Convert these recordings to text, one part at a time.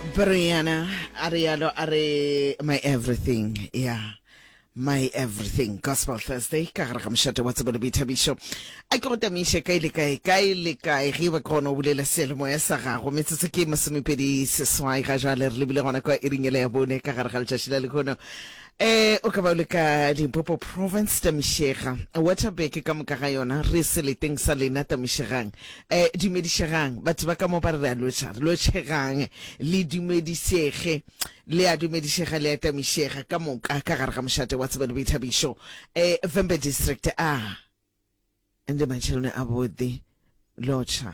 Brianna a rialo a re my everything yeah my everything gospel thursday ka gare ga mošate wa tsebo le boithabišo a ke go tamiše kae le kae kae le kae ge ba ke gona o bulela seyalemoya sa gago metsotso ke masomepedi seswai ga jale re lebile gona kwa iring ele ya bone ka gare ga letšatši la lehono um o ka ba o le ka limpopo province tamišega waterberg ka moka ga yona re seleteng sa lena tamišegang um dumedišegang batho ba ka mo ba re re a lotšha re lotšhegang le dumedišege le a dumedišega le a tamišega ka moka ka gare ga mošate wa tsebo le boithabišo um vhembe district a ndi matsheloni avhuḓi lotšha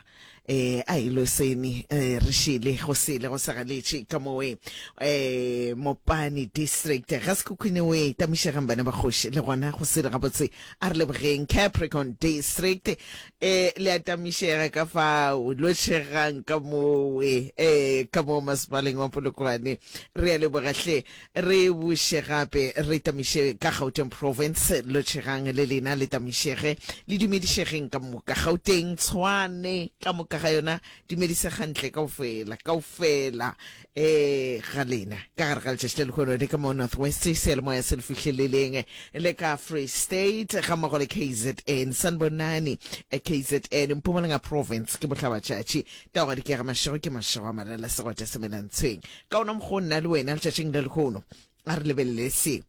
eh a ilo seni eh re šele go sele go sa galetše ka mowe eh mopani district ga sekhukhune we tamišegang bana ba kgoši le gona go sele gabotse a re lebogeng capricorn district eh le a tamišega ka fao lotšhegang ka mowe eh ka mo masepaleng wa polokwane re a leboga hle Re buše gape re tamiše ka Gauteng Province, lotšhegang le lena le tamišege, le dumedišegeng ka moka. Gauteng, Tshwane, ka moka ga yona, dumedisegantle kaofela, kaofela eh ga lena. Ka gare ga letšatši la lehono le ka mo North West, seyalemoya se le fihleleleng le ka Free State ga mmogo le KZN, Sanbonani, KZN, Mpumalanga Province ke bohlabatšatši, taogadi ke ga mašego ke mašego a malala segwata semelantshweng. Ka ona mokgwa o nna le wena letšatšing la lehono a re lebelele se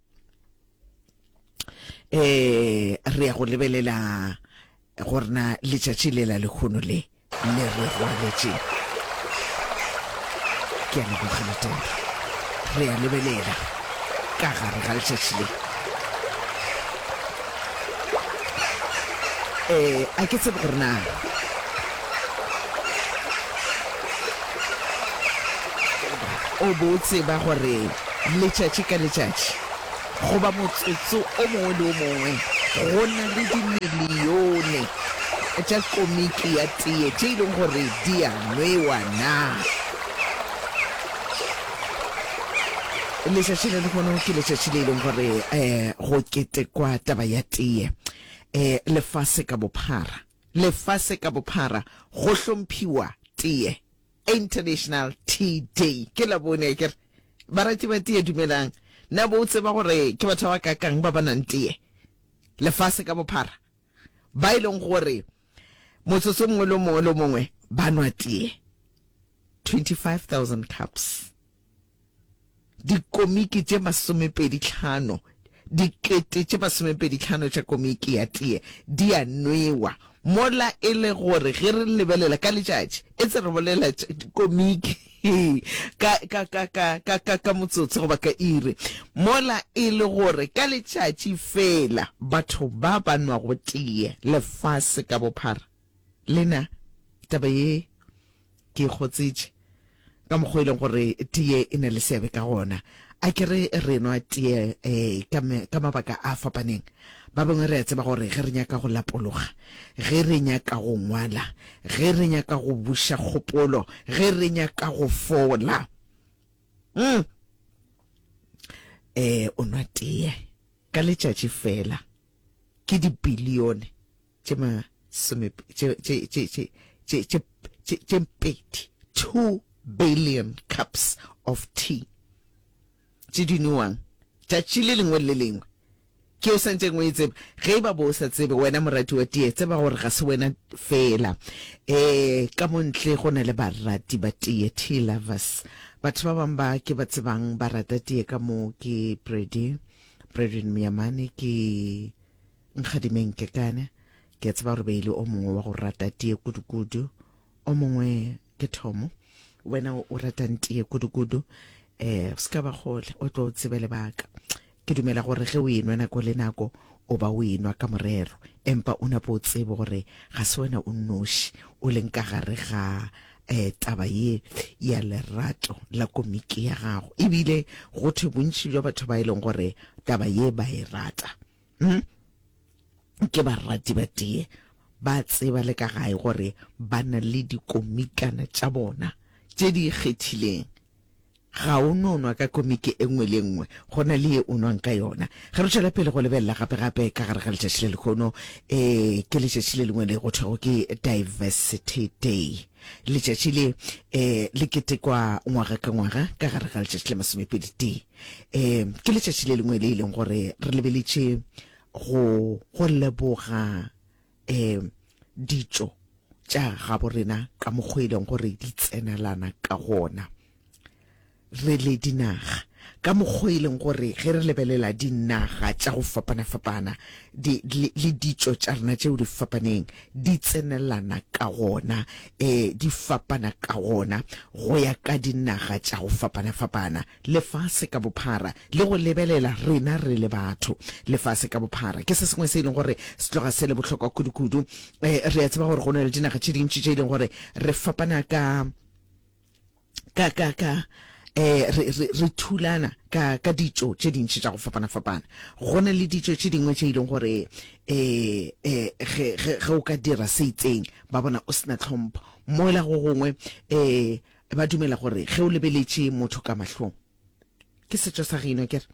eh re ya go lebelela gore na letšatši le la lehono le le re rwaletše ke a leboga letolo re ya lebelela ka gare ga letšatši le Eh, a ke tsebe gore na o bo o tseba gore letšatši ka letšatši goba motsotso o mongwe le o mongwe go na le dimilione tša komiki ya teye tše e leng gore di a nwewa na? Letšatši la lehono ke letšatši le e leng gore um go ketekwa taba ya teye um lefase ka bophara. Lefase ka bophara go hlomphiwa teye, International Tea Day. Ke Labone akere? Barati ba teye dumelang. Na bo o tseba gore ke batho ba bakakang ba ba nwang teye lefase ka bophara? Ba e leng gore motsotso o mongwe le o mongwe le o mongwe ba nwa teye. 25,000 cups. Dikomiki tše masomepeditlhano, dikete tše masomepeditlhano tša komiki ya teye di a nwewa, mola e le gore ge re lebelela ka letšatši, e tse re bolela komiki ka, ka, ka, ka, ka, ka, ka motsotso goba ka iri, mola e le gore ka letšatši feela batho ba ba nwago teye lefase ka bophara. Lena, taba ye ke e kgotsetše ka mokgwa e leng gore teye e na le seabe ka gona. A ke re re nwa teye eh, ka, ka mabaka a fapaneng. Ba bangwe re a tseba gore ge re nyaka go lapologa, ge re nyaka go ngwala, ge re nyaka go buša kgopolo, ge re nyaka go fola, mm, eh, o nwa teye ka letšatši fela ke dibilione tše masome tše tše tše tše tše tše tše tše pedi 2 billion cups of tea tše di nowang tšatši le lengwe le lengwe ke o santšeng o e tseba ge e ba bo o sa tsebe wena morati wa tee tseba gore ga se wena fela um ka mo ntle go na le barati ba tee tea lovers batho ba bangwe ba ke ba tsebang ba rata tee ka mo ke brady bradwin miyamane ke Nkgadimeng Kekane, ke a tseba gore be e le o mongwe wa go rata tee kudukudu. O mongwe ke Thomo, wena o ratang tee kudukudu. Eh, se ka ba kgole, o tlo tsebe lebaka. Ke dumela gore ge o enwa nako le nako, o ba o enwa ka morero, empa o nape o tsebe gore ga se wena o nnoši o leng ka gare ga eh, taba ye ya lerato la komiki ya gago. Ebile go thwe bontši bja batho ba e leng gore taba ye ba e rata. Hmm? Ke barati ba tee ba tseba le ka gae gore ba na le dikomikana tša bona tše di ikgethileng. Ga o no nwa ka komiki e nngwe le e nngwe, go na le ye o nwang ka yona. Ge re tšwela pele go lebelela gape-gape ka gare ga letšatši le lehono, eh, ke letšatši le lengwe le go thwego ke Diversity Day. Letšatši le, eh, le ketekwa ngwaga ka ngwaga ka gare ga letšatši la masomepedi tee. Eh, ke letšatši le lengwe le e leng gore re lebeletše go, go leboga, eh, ditšo tša gabo rena ka mokgwa e leng gore di tsenelana ka gona re le dinaga, ka mokgwa e leng gore ge re lebelela dinaga tša go fapana-fapana di, le, le ditšo tša rena tšeo di fapaneng di tsenelana ka gona, eh, di fapana ka gona go ya ka dinaga tša go fapana-fapana lefase ka bophara, le go lebelela rena re le batho lefase ka bophara ke se sengwe se e leng gore se tloga se le bohlokwa kudu-kudu. Eh, re a tseba gore go na le dinaga tše dintši tše e leng gore re fapana ka ka ka ka eh re re re thulana ka ka ditšo tše dintši tša go fapana-fapana. Go na le ditšo tše dingwe tše e leng gore eh eh ge ge ge o ka dira se itseng ba bona o sena tlhompho, mola go gongwe eh ba dumela gore ge o lebeletše motho ka mahlong, ke setšo sa geno akere,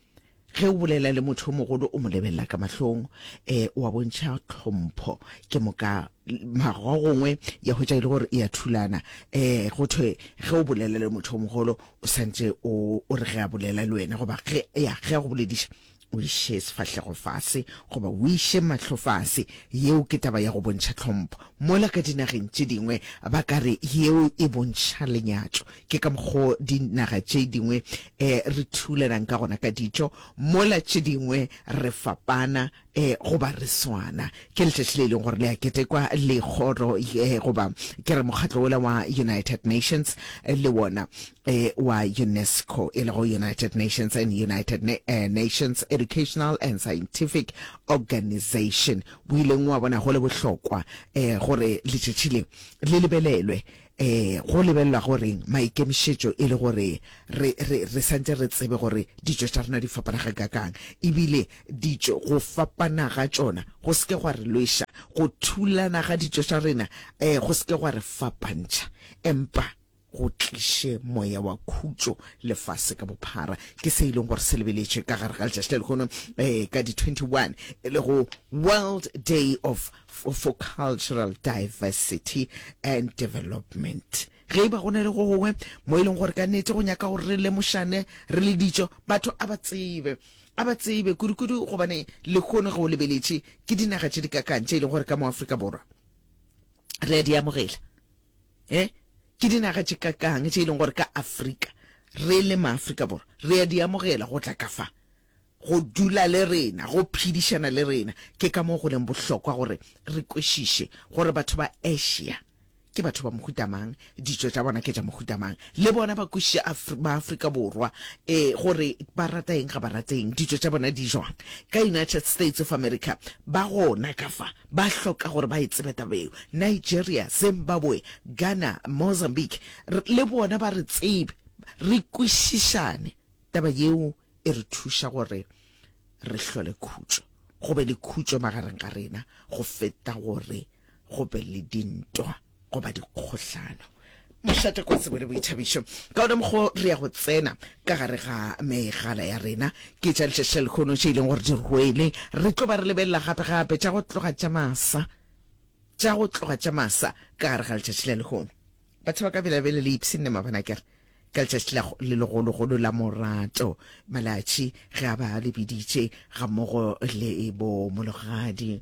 ge o bolela le motho o mogolo o mo lebelela ka mahlong, um wa bontšha tlhompho. Ke moka mara go gongwe ya hwetša e le gore e a thulana, um go thwe ge o bolela le motho o mogolo o santše o o re ge a bolela le wena goba ge ya ge a go bolediša o iše sefahlego fase goba o iše mahlo fase. Yeo ke taba ya go bontšha tlhompho. Mola ka dinageng tše dingwe ba ka re yeo e bontšha lenyatšo. Ke ka mokgo dinaga tše dingwe re thulanang ka gona ka ditšo, mola tše dingwe re fapana goba re swana. Ke letšatši le e leng gore le a ketekwa le kgoro goba ke re mokgatlo wola wa United Nations le wona wa UNESCO, e lego United Nations and United Nations Educational and Scientific Organization, o ileng wa bona go le bohlokwa gore letšatši le le lebelelwe. Go lebelelwa go reng? Maikemišetšo e le gore re, re, re santše re tsebe gore ditšo tša rena di fapana gakaakang, ebile ditšo, go fapana ga tšona go se ke gwa re lweša, go thulana ga ditšo tša rena go se ke gwa re fapantšha, empa go tliše moya wa khutšo lefase ka bophara. Ke se e leng gore se lebeletšwe ka gare ga letšatši la lehono ka di 21, e lego World Day of for Cultural Diversity and Development. Ge e ba go na le go gongwe mo e leng gore ka nnete go nyaka gore re lemošane re le ditšo, batho a ba tsebe, a ba tsebe kudu-kudu, gobane lehono ge o lebeletše ke dinaga tše di kakang tše e leng gore ka mo Afrika Borwa re a di amogela. E ke dinaga tše kakang tše e leng gore ka Afrika re le maAfrika Borwa re a di amogela go tla ka fa, go dula le rena, go phedišana le rena. Ke ka moo go leng bohlokwa gore re kwešiše gore batho ba Asia ke batho ba mohuta mang, ditšo tša bona ke tša mohuta mang, le bona ba kwešiše maAfrika Borwa e gore ba rata eng, ga ba rate eng, ditšo tša bona di jwang. Ka United States of America ba gona ka fa, ba hloka gore ba e tsebe taba yeo. Nigeria, Zimbabwe, Ghana, Mozambique, le bona ba re tsebe, re kwešišane taba yeo. E re thuša gore re hlole khutšo, go be le khutšo magareng ga rena go feta gore go be le dintwa goba dikgohlano. Mošate kwa tsebo le boithabišo. Ka ona mokgwa re ya go tsena ka gare ga megala ya rena. Ke tša letšatši la lehono tše e leng gore di rwele. Re tlo ba re lebelela gape-gape tša go tloga tša masa, tša go tloga tša masa ka gare ga letšatši la lehono. Batho ba ka bela-bele le ipshinne mabana kere. Ka letšatši la le legologolo la morato, Malatši ge a ba le biditše gammogo le bo Mologadi,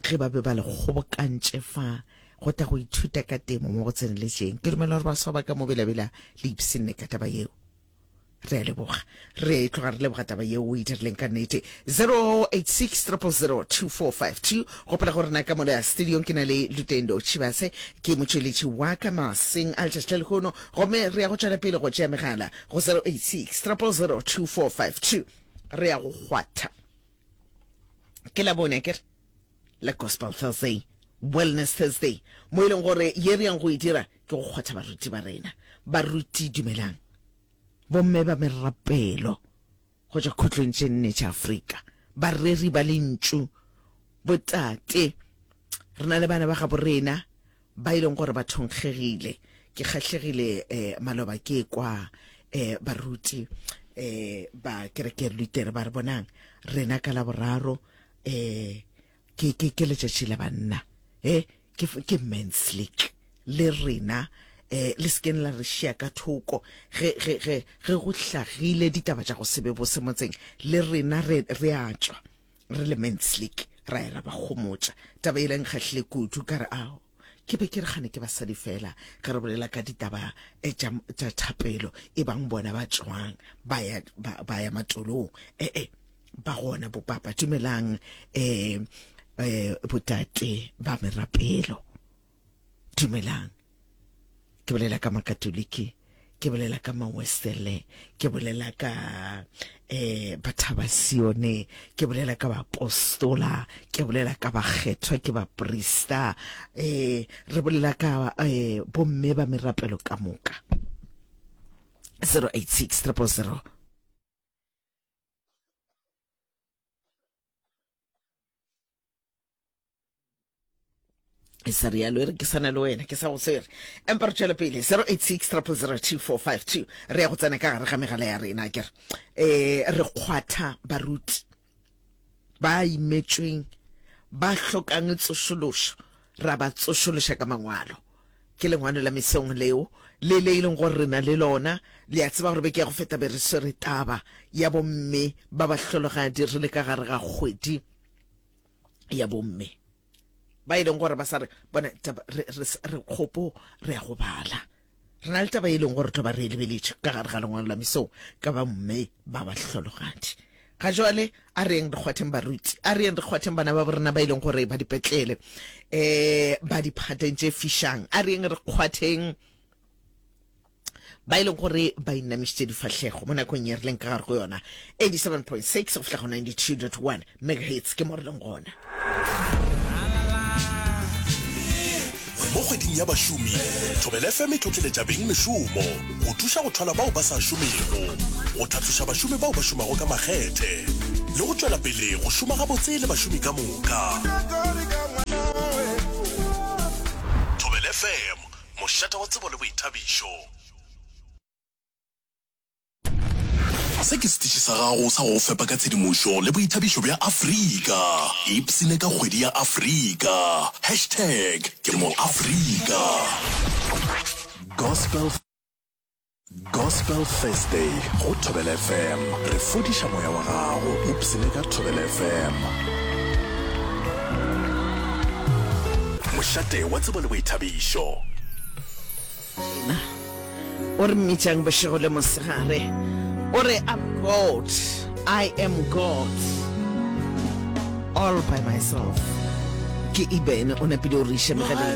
ge ba be ba le kgobokantše fa go tla go ithuta ka temo mo go tseneletšeng. Ke dumela gore baswa ba ka mo Bela-Bela le ipshinne ka taba yeo. Re a leboga. Re tloga re leboga taba yeo o e dirileng ka nnete. 086 000 2452. Gopola gore na ka mola studiong ke na le Lutendo Tshivhase, ke motšweletši wa ka maseng a letšatši la lehono, gomme re ya go tšwela pele go tšea megala go 086 000 2452. Re ya go kgwatha. Ke Labone akere? La Gospel Thursday, Wellness Thursday, mo e leng gore ye re yang go e dira ke go kgwatha baruti ba rena. Baruti dumelang. Bomme ba merapelo go tšwa khutlong tše nne tša Afrika, bareri ba lentšu, botate, re na le bana ba gabo rena ba e leng gore ba thonkgegile. Ke kgahlegile eh, maloba ke kwa. um baruti um ba kereke Lutere ba re bonang rena ka Laboraro um ke ke ke letšatši la banna e ke ke men's league le rena eh le sekeng la re šia ka thoko ge ge ge ge go hlagile ditaba tša go se be bose motseng le rena re re a tšwa re le men's league ra ya ra ba gomotša taba e leng kgahlile kudu ka re ao ke be ke re gane ke basadi fela ge re bolela ka ditaba eh, tša tša thapelo e bang bona ba tšwang ba ya ba, ba ya matolong eh eh ba gona bopapa dumelang eh eh botate ba merapelo dumelang ke bolela ka makatoliki ke bolela ka mawesele ke bolela ka eh bathabasione ke bolela ka bapostola ke bolela ka bakgethwa ke baprista eh re bolela ka eh bomme ba merapelo ka moka 086 000 e sa rialo e re ke sana le wena ke sa go swere empa re tšwele pele 086 0002452 re ya go tsena ka gare ga megala ya rena kere um re kgwatha baruti ba imetšweng ba hlokang tsošološo ra ba tsošološa ka mangwalo Ke lengwalo la mesong leo, le le e leng gore re na le lona. Le a tseba gore beke ya go feta be re swere taba ya bomme ba bahlologadi re le ka gare ga kgwedi ya bomme ba e leng gore ba sa re bona taba re, re, re kgopo re ya go bala. Re na le taba e leng gore tlo ba re e lebeletše ka gare ga lengwalo la mesong ka ba mme ba bahlologadi. Ga jwale a re yeng re kgwatheng baruti, a re yeng re kgwatheng bana ba borena ba e leng gore ba dipetlele, um ba diphateng tše fišang, a re yeng re kgwatheng ba e leng gore ba inamišitše difahlego mo nakong ye re leng ka gare go yona 87.6 go fihla go 92.1 megahertz ke mo re leng gona. Mo kgweding ya bašomi, Thobela FM e tlotleletša beng mešomo go thuša go thwala bao ba sa šomego, go tlhatloša bašomi bao ba šomago ka makgethe le go tšwela pele go šoma gabotse le bašomi ka moka. Thobela FM, mošate wa tsebo le boithabišo. Se ke setiši sa gago sa go go fepa ka tshedimošo le boithabišo bja Afrika. Ipshine ka kgwedi ya Afrika. Hashtag ke mo Afrika. Gospel Gospel Thursday go Thobela FM. Re fodiša moya wa gago. Ipshine ka Thobela FM. Mošate wa tsebo le boithabišo. Yena o re mmitšang bošego le mosegare, o re, I'm God, I am God all by myself. Ke Eben o napile o re iša megaleng.